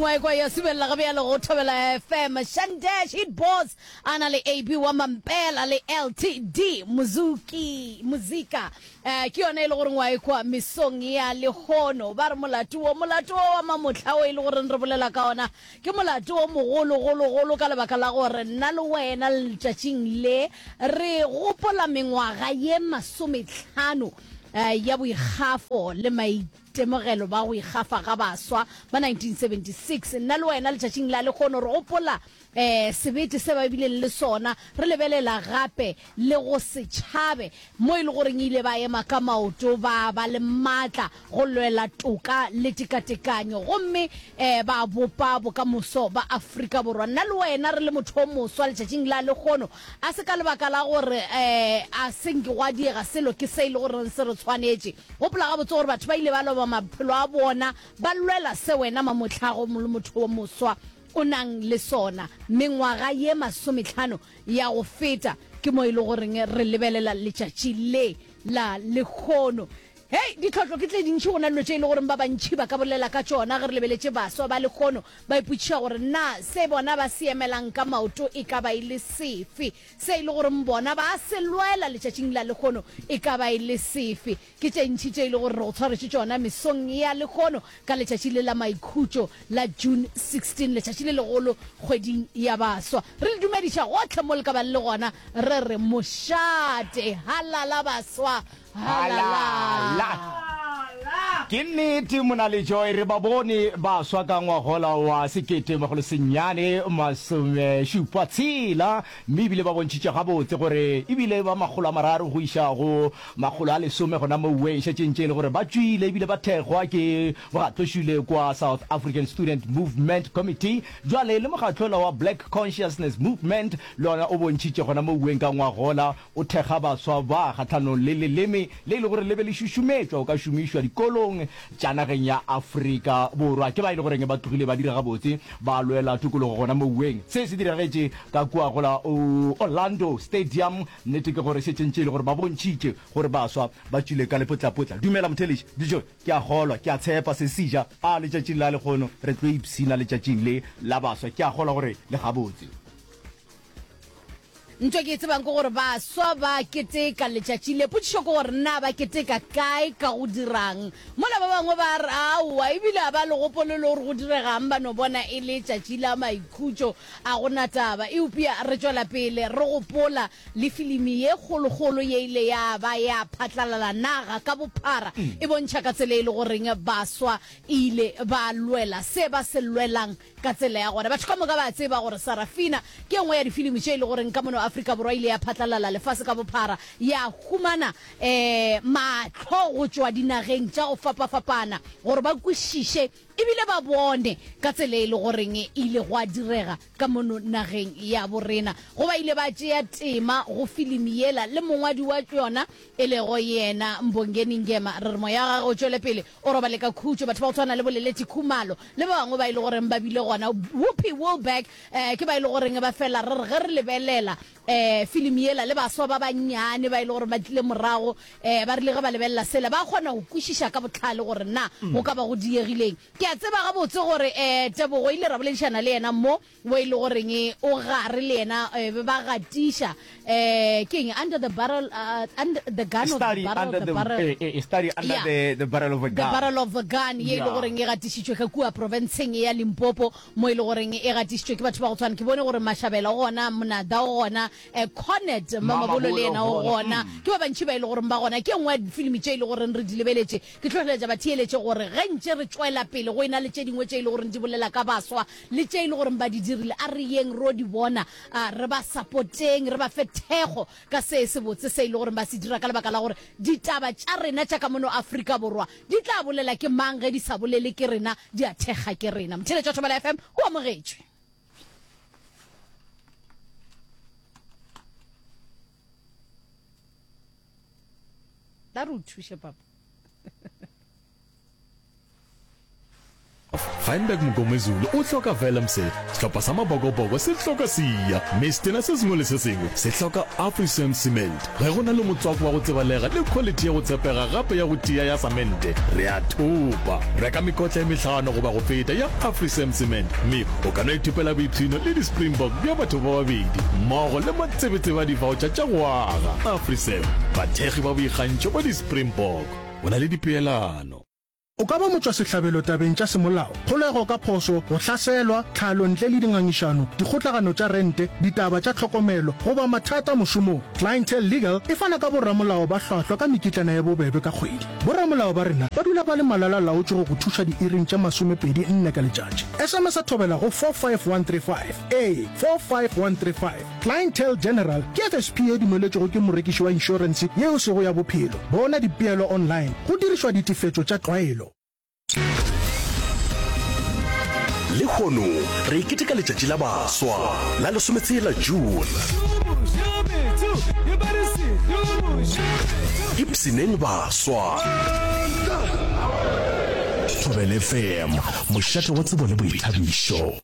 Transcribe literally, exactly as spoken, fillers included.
wa ekwa ya subelela ga bjalo go Thobela F M. Shandesh Hit Boss a na le A B wa Mampela le L T D Muzuki Muzika, eh ke yona e le goreng wa ekwa mesong ya lehono. Ba re molato wo, molato wo wa mamohla o e le goreng re bolela ka ona, ke molato o mogolo golo golo, ka lebaka la gore nna le wena letšatšing le re gopola mengwaga ye masometlhano eh, ya boikgafo le maitemogelo ba go ikgafa ga baswa ba nineteen seventy-six. Nna le wena letšatšing la lekgono re gopola eh sebete se ba bileng le sona, re lebelela gape le go setšhabe mo e le goreng ile ba ema ka maoto, ba ba le maatla go lwela toka le tekatekanyo, gomme um ba bopa bokamoso ba Afrika Borwa. Nna le wena re le motho o moswa letšatšing la lekgono, a se ka lebaka la gore um a senke gwa diega selo, ke se e le goreng se re tshwanetše. Gopola gabotse gore batho ba ile ba loba maphelo a bona ba lwela se wena mamotlhago le motho o moswa o nang le sona. Mengwaga ye masometlhano ya go feta ke mo e le goreng re lebelela letšatši le la lekgono. Hei, ditlhotlo ke tle dintšhi, go na dilo tše e le goreng ba bantšhi ba ka bolela ka tšona. Ge re lebeletše baswa ba lekgono, ba ipotšiša gore na se bona ba se emelang ka maoto e ka ba e le sefe, se e le goreng bona ba se lwela letšatšing la lekgono e ka ba e le sefe. Ke tše ntšhi tše e le gore re go tshwaretše tšona mesong ya lekgono ka letšatši le la maikhutšo la June sixteen, letšatši le legolo kgweding ya baswa. Re le dumediša gotlhe mo le ka bang le gona, re re mošate halala baswa, halala. Ke nnete, mona le Joy, re ba bone baswa ka ngwagola wa sekete magolo senyane masome šupa tshela, mme ebile ba bontšhitše gabotse gore ebile ba makgolo a mararo go iša go makgolo a lesome gona mouwe e šetšeng tše e le gore ba tšwile, ebile ba thekgwa ke bogatlošile kwa South African Student Movement Committee. Jwale le mokgatlola wa Black Consciousness Movement le ona o bontšhitše gona mouweng ka ngwagola o thekga baswa ba kgatlhanong le leleme le e le gore le be le šušumetšwa o ka šomišwa dikolong tša nageng ya Afrika Borwa. Ke ba e le goreng ba tlogile ba dira gabotse, ba lwela tokologo gona mouweng. Se se diragetše ka kua gola Orlando Stadium. Nnete ke gore šetšeng tše e le gore ba bontšhitše gore baswa ba tšwile ka lepotlapotla. Dumela motheletši Dijo, ke a kgolwa, ke a tshepa se seja a letšatšing la lekgono re tlo ipshina letšatšing le la baswa. Ke a kgolwa gore le gabotse. Ntho ke e tsebang ke gore baswa ba keteka letšatši le. Potšišo ke gore na ba keteka kae, ka go dirang, mola ba bangwe ba re aowa, ebile a ba le gopolo le gore go diregang, ba no bona e le tšatši la maikhutšo, a gona taba. Eupša re tšwela pele re gopola le filimi ye kgolokgolo ye ile ya ba ya phatlalala naga ka bophara, e bontšha ka tsela e le goreng baswa ile ba lwela se ba se lwelang ka tsela ya gona. Batho ka moka ba tseba gore Sarafina ke nngwe ya difilimi tše e le goreng ka mono Afrika Borwa ile ya phatlalala lefase ka bophara, ya humana um mahlo go tšwa dinageng tša go fapafapana gore ba kwešiše ebile ba bone ka tsela e le goreng e ile gwa direga ka mono nageng ya borena. Go ba ile ba tšea tema go filimi yela le mongwadi wa yona e lego yena Mbongeni Ngema, re re moya wa gagwe o tšwele pele o robale ka khutšo. Batho ba go tshwana le Boleleti Khumalo le ba bangwe ba e le goreng ba bile gona, Whoopi Goldberg, um ke ba e le goreng ba fela re re ge re lebelela um filimi yela le baswa ba bannyane ba e le gore ba tlile morago, um ba rile ge ba lebelela sela ba kgona go kwešiša ka botlhale gore na go ka ba go diegileng. Ke a tseba gabotse gore um Tebogo ile ra boledišana le yena mo wo e le goreng o gare le yena, be ba gatiša um ke eng, under the barrel, uh, under the gun of the study barrel, under the the barrel, eh, eh, study under Yeah. the the barrel of a The gun. Barrel of a Gun ye e le Yeah. goreng e gatišitšwe ka kua provinceng ya Limpopo, mo e le goreng e gatišitšwe ke batho ba go tshwana, ke bone gore Mashabela o gona, Monada o gona, um Cornet Mamabolo le yena o gona, ke ba bantši ba e le goreng ba gona. Ke e nngwe ya difilimi tše e le goreng re di lebeletše. Ke hlohleletša batheeletše gore ge ntše re tšwela pele go e na le tše dingwe tše e le goreng di bolela ka baswa le tše e le goreng ba di dirile, a re yeng ro di bona, a re ba support-eng, re ba fe thekgo ka se se botse se e le goreng ba se dira, ka lebaka la gore ditaba tša rena tša ka mono Afrika Borwa di tla bolela ke mang ge di sa bolele ke rena, di a thekga ke rena. Motheletša Thobela F M o amogetšwe. Tla re o thuše, papa. Feinberg Mngomezulu o hloka Vellemse, sehlopha sa Mabokoboko se hloka Siya, mme setena se sengwe le se sengwe se hloka Afrisem Cement. Ge go na le motswako wa go tsebalega le quality ya go tshepega gape ya go tia ya samente, re a thopa. Reka mekotla e mehlano goba go feta ya Afrisem Cement mme o ka no ithopela boipshino le di-Springbok bja batho ba babedi mmogo le matsebetsebe a di-voucher tša go aga. Afrisem, bathekgi ba boikgantšho ba di-Springbok. Go na le dipeelano. O ka ba motšwasehlabelo tabeng tša semolao, kgolego ka phošo, go hlaselwa, tlhalo ntle le dingangišano, dikgotlagano tša rente, ditaba tša tlhokomelo, goba mathata mošomong. Clientele Legal e fana ka boramolao ba hlwahlwa ka mekitlana ye bobebe ka kgwedi. Boramolao ba rena ba dula ba le malala-laotšwe go go thuša diiring tše masomepedi nne ka letšatši. S M S Thobela go four five one three five. Ee, four five one three five. Clientele General ke F S P ye dumeletšwego ke morekiši wa inšorense ye e sego ya bophelo. Bona dipeelo online go dirišwa ditefetšo tša tlwaelo. Lehono re keteka letšatši la baswa la lesometshela June. Ipshineng baswa. Thobela F M, mošate wa tsebo le boithabišo.